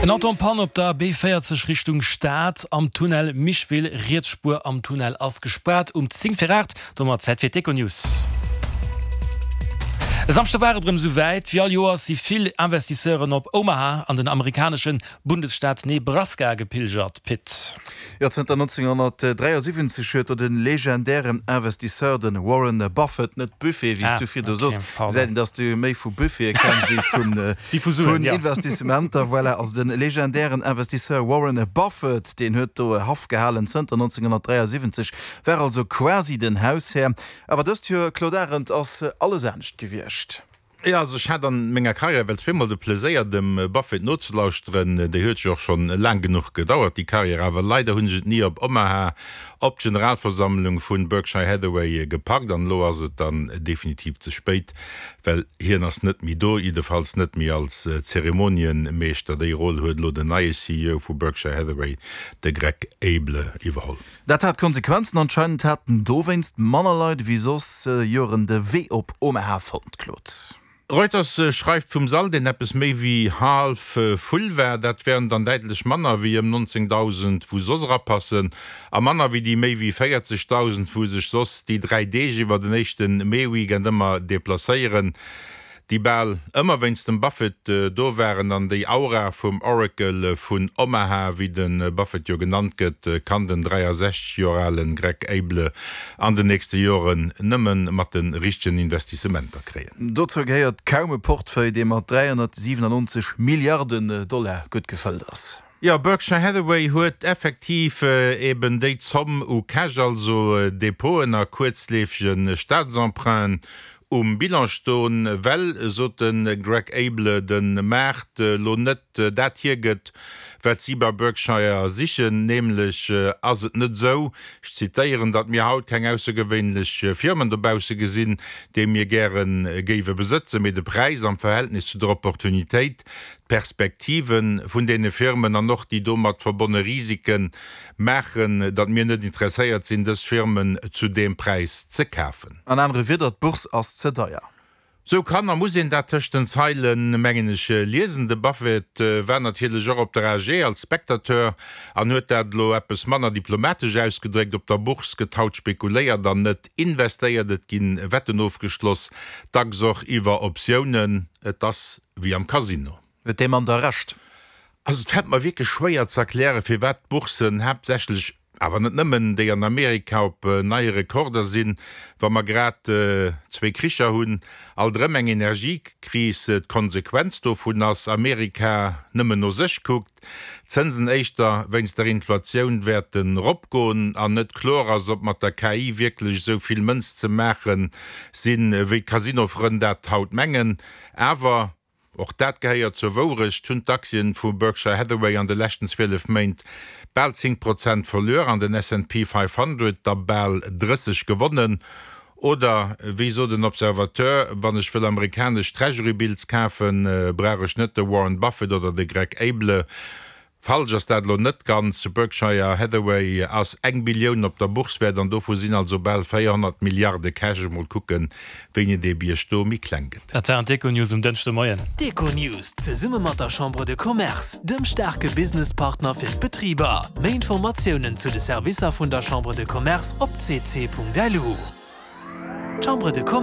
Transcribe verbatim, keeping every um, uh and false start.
En Auto en panne op der B véierzeg Richtung Stad am Tunnel Micheville. Riets Spuer am Tunnel ass gespaart um zéng vir aacht. Domat Zäit fir d'Econews. E Samschde war et erëm esou wäit. Wéi all Joers si vill Investisseuren op Omaha an den amerikanesche Bundesstaat Nebraska gepilgert. Pit. Jo, zënter nonzénghonnertdräiasiwwenzeg huet do de legendären Investisseur, de Warren Buffett, net Buffet, wéi s du virdu sos, gesäit een, dass du méi vu Buffete kenns wéi vun Investissementer, voilà, also de legendären Investisseur Warren Buffett, deen huet do Haff gehalen zënter nonzénghonnertdräiasiwwenzeg, war also quasi den Haushär. Awer dëst Joer, Claude Arend, ass alles anescht gewiescht. Jo, also ech hat an menger Karriär well zweemol de Pleséier dem Buffett nozelauschteren. Déi huet jo och schonn laang genuch gedauert, déi Karriär, awer leider hunn ech et ni op Omaha op d'Generalversammlung vun Berkshire Hathaway gepackt an elo ass et dann definitiv ze spéit, well hien ass net méi do, jiddefalls net méi als Zeremonienmeeschter. Déi Roll huet elo den neie C E O vu Berkshire Hathaway, de Greg Abel, iwwerholl. Dat hat Konsequenzen, anscheinend haten dowéinst manner Leit ewéi soss Joren de Wee op Omaha fonnt, Claude. Reuters schreift vum Sall, deen eppes méi wéi haalf full war. Dat wären dann däitlech manner wéi ëm nonzéngdausend wou soss erapassen a manner wéi déi méi wéi véierzegdausend wou sech soss déi dräi Deeg iwwer den éischte Mee-Weekend ëmmer deplacéieren. Déi bal ëmmer wéinst dem Buffett do waren an déi Aura vum Oracle vun Omaha, wéi de Buffett jo genannt gëtt, kann den dräiasechzeg Joer ale Greg Abel an den nächste Joren nëmme mat de richtegen Investissementer kréien. Dozou gehéiert kaum e Portefeuille, dee mat dräihonnertsiwwenannonzeg Milliarden Dollar gutt gefëllt ass. Jo, Berkshire Hathaway huet effektiv eben déi Zomm u Cash, also Depoten a kuerzleefege Staatsemprunten um Bilan stoen, well, sot de Greg Abel, de Maart lo net dat hiergëtt, wat si bei Berkshire sichen. Nämlech ass et net esou, ech zitéieren, datt mir haut keng aussergewéinlech Firmen dobausse gesinn, déi mir gäre géiwe besëtzen, mee de Präis am Verhältnis zu der Opportunitéit, d'Perspektive vun deene Firmen an och déi domat verbonne Risike maachen, datt mir net interesséiert sinn, dës Firmen zu deem Präis ze kafen. An anere Wieder, d'Bourse ass ze deier. Sou kann a muss een dat tëscht den Zeilen, mengen ech, liesen. De Buffett war natierlech och op der A G als Spectateur an huet dat elo eppes manner diplomatesch ausgedréckt, Op der Bourse gëtt haut spekuléiert an net investéiert. Et gi Wetten ofgeschloss, dacks och iwwer Optiounen. Et ass wéi am Casino. Huet dee Mann da Recht? Also et fält mer wierklech schwéier ze erklären, firwat d'Bourssen, haaptsächlech, awer net nëmmen, déi an Amerika op neie Rekorder sinn, wa mer grad zwee Kricher hunn, alt erëm eng Energiekris d'Konsequenz dovun ass, Amerika nëmmen no sech kuckt, d'Zënsen éischter wéinst der Inflatioun wäerten eropgoen an net kloer ass, ob mat der K I wierklech esou vill Mënz ze maache sinn, wéi d'Casinofrënn dat haut mengen. Awer. Och dat gehéiert zur Wourecht, hunn d'Aktien vu Berkshire Hathaway an de leschten zwielef Méint bal zéng Prozent verluer an den S and P fifhundred der bal drësseg gewonnen. Oder wéi sot en Observateur, Wann ech wëll amerikanesch Treasury Bills kafen, brauch ech net de Warren Buffett oder de Greg Abele. Falsch ass dat elo net ganz. Berkshire Hathaway ass eng Billioun op der Bourse wäert an dovu sinn also bal véierhonnert Milliarde Cash. Emol kucken, wéini dee Bierg do méi kleng gëtt. Dat waren d'Econews um Dënschdemoien. D'Econews zesumme mat der Chambre de Commerce, dem staarke Businesspartner fir d'Betriber. Méi Informatiounen zu de Servicer vun der Chambre de Commerce op c c punkt lu. D'Chambre de Commerce.